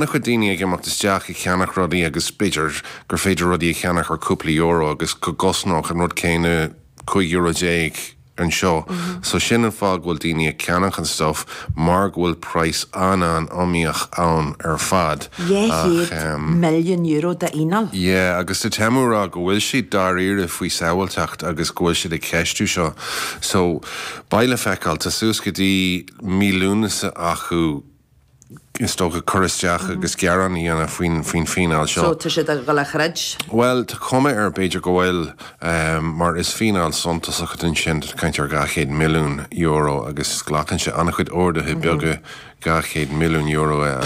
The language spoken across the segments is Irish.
An-chuid daoine ag imeacht isteach ag ceannach rudaí agus b'fhéidir gur féidir rudaí a cheannach ar cúpla euro agus go gcosnódh an rud céanna €15 euro anseo. So sin an fáth go bhfuil daoine ag ceannach an stuff mar go bhfuil praghas an-an-iomaíoch ann ar fad. €200 milliún d'fhíneáil. Yeah, agus tá Temu ag rá go bhfuil siad dáiríre faoi sábháilteacht agus go bhfuil siad ag ceistiú seo. So beidh le feiceáil, tá suas go dtí mí Lúnasa acu is dócha, cur isteach agus gearán a dhéanamh faoin faoin fíneáil seo. So, tá siad ag dul a throid? Bhuel, tá cuma air, b'fhéidir go bhfuil, mar is fíneáil suntasach atá ansin, tá caint ar €200 milliún agus glacann sé an-chuid orduithe beaga €200 milliún a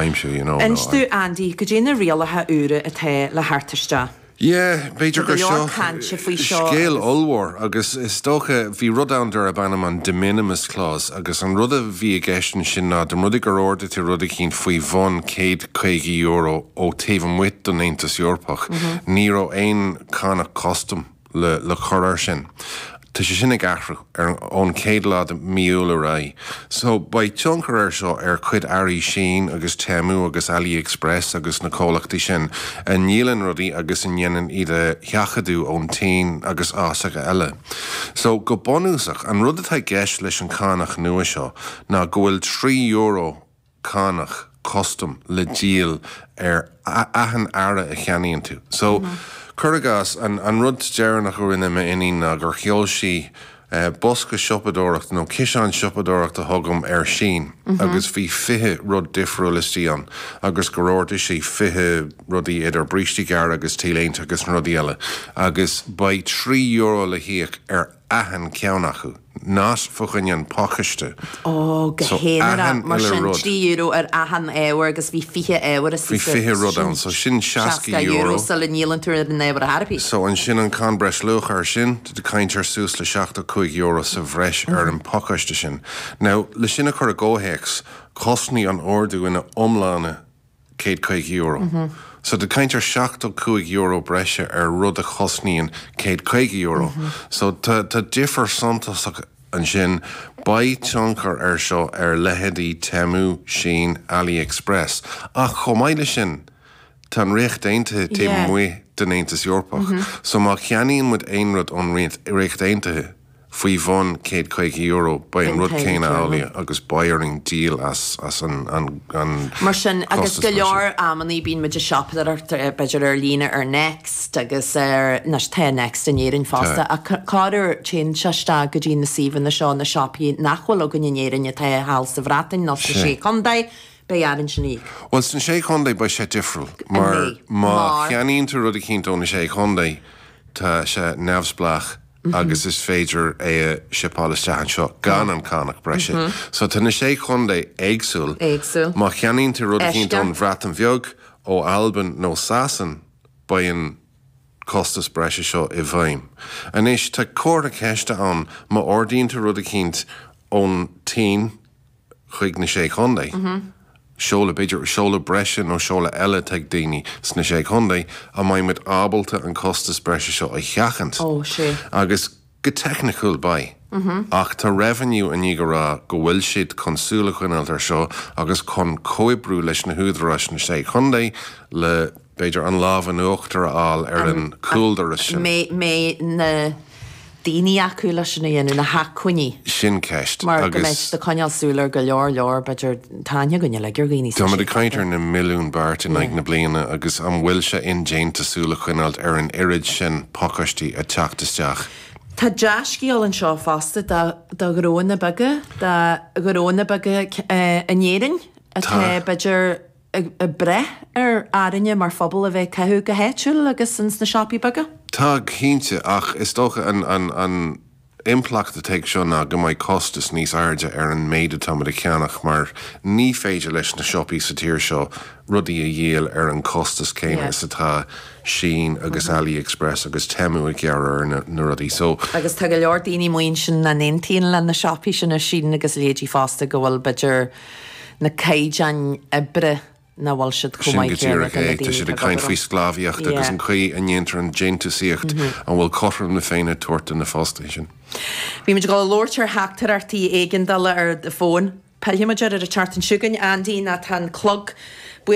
aimsiú, you know. Inis domh, Andy, goidé na rialacha úra atá le theacht isteach. Yeah, b'fhéidir Tá gur go leor seo cainte faoi seo scéal agus. ollmhór agus is dócha, bhí rud ann darb ainm an de minimis clause agus an rud a bhí i gceist ansin ná dá mba rud é gur ordaigh tú rud eicínt faoi bhun €150 ó taobh amuigh den Aontas Eorpach, ní raibh aon cánach custam le le cur air sin. Tá sé sin ag athrú ar ón chéad lá de mí Iúil ar aghaidh. So, beidh tionchar air seo ar chuid earraí Shein agus Temu agus AliExpress agus na comhlachtaí sin a ndíolann rudaí agus a ndéanann iad a sheachadadh ón tSín agus áiteacha eile. So, go bunúsach, an rud atá i gceist leis an cánach nua seo ná go bhfuil €3 cánach custam le díol ar achan earra a cheannaíonn tú. So, cuir i gcás, an rud deireanach a rinne m'iníon ná gur sheol sí bosca siopadóireachta nó ciseán siopadóireachta chugam ar Shein agus bhí 20 rud difriúil istigh ann agus gur ordaigh sí 20 rudaí idir brístí gearra agus T-léinte agus na rudaí eile agus beidh €3 le híoc ar achan ceann acu, not fá choinne an pacáiste. Ó, go So, haonarach, achan mar uile sin, rud. €3 ar achan ábhar agus bhí 20 ábhar Bhí istigh sa, 20 rud sin ann, so sin €60 €60. sula ndíolann tú ar an ábhar ar chor ar bith. So ansin an cáin breisluacha air sin, tá tú ag caint ar suas le €75 sa bhreis ar an pacáiste sin. Now, le sin a chur i gcomhthéacs, chosnaigh an ordú ina iomláine €150. So tá tú ag caint ar €75 breise ar rud a chosnaíonn €150. So tá tá difear suntasach ansin. Beidh tionchar air seo ar leithéidí Temu, Shein, AliExpress. Ach chomh maith leis sin, tá an Ríocht Aontaithe taobh amuigh den Aontas Eorpach. So má cheannaíonn muid aon rud ón Ríocht Aontaithe, faoi bhun €150, beidh an rud céanna amhlaidh agus beidh orainn díol as as an an an Mar sin, agus costas go breise. leor amannaí bíonn muid ag siopadóireacht b'fhéidir ar líne ar Next agus ar, anois tá Next in Éirinn fosta, Tá. ach corruair téann sé isteach go dtí na suíomhanna seo, na siopaí nach bhfuil againn in Éirinn atá thall sa Bhreatain nó sna Sé. Sé Chontae, beidh orainn sin a íoc. Bhuel, sna Sé Chontae beidh sé difriúil mar mbeidh? má Mar? cheannaíonn tú rud eicínt ó na Sé Chontae tá sé neamhspleách agus is féidir é a shipeáil isteach anseo gan an cánach breise. So tá na sé chontae éagsúil. Éagsúil. Má cheannaíonn tú rud eicínt Eisceacht. ón Bhreatain Bheag, ó Albain nó Sasain, beidh an costas breise seo i bhfeidhm. Anois, tá comhartha ceiste ann má ordaíonn tú rud eicínt ón tSín, chuig na Sé Chontae. Seoladh, b'fhéidir, seoladh breise nó seoladh eile atá ag daoine sna Sé Chontae, an mbeidh muid ábalta an costas breise seo a sheachaint? Ó, sea. Agus go teicniciúil, beidh. Ach tá Revenue i ndiaidh a rá go bhfuil siad chun súil a choinneáilt ar seo agus chun comhoibriú leis na húdaráis sna Sé Chontae le, b'fhéidir, an lámh in uachtar a fháil ar an chúldoras sin. Mbeidh na daoine acu leis sin a dhéanamh, na hacmhainní. Sin ceist. Mar go mbeidh Agus. siad ag coinneáil súil ar go leor leor, b'fhéidir, tá aithne againn uilig ar dhaoine Tá sna muid Sé ag caint Chontae. ar na milliúin beart in aghaidh na bliana agus an bhfuil sé indéanta súil a choinneáilt ar an oiread sin pacáistí ag teacht isteach? Tá dea-scéal anseo fosta do ghnóanna beaga, do ghnóanna beaga in Éirinn atá Tá. b'fhéidir ag brath ar orainne mar phobal a bheith ag caitheamh go háitiúil agus ins na siopaí beaga? Tá, cinnte, ach is dócha an an impleacht atá ag seo ná go mbeidh costas níos airde ar an méid atáimid a cheannach mar ní féidir leis na siopaí sa tír seo rudaí a dhíol ar an costas céanna is atá Shein agus AliExpress agus Temu ag gearradh ar na rudaí. So. Agus tá go leor daoine amuigh ansin nach n-aontaíonn le na siopaí sin ar Shein agus a leithéidí fosta go bhfuil b'fhéidir na caighdeáin oibre nach bhfuil siad chomh Sin go maith céanna díreach do na é. Tá daoine siad atá ag ag caint obair faoi ann. sclábhaíocht agus Yeah. an chaoi a ndéantar an déantúsaíocht, an bhfuil cothrom na Féinne á tabhairt do na fostaithe sin. Bhí muid ag dul a labhairt ar theachtaireachtaí éigeandála ar do fón. Pillfidh muid air ar an tseachtain seo chugainn, Andy, nó tá an clog.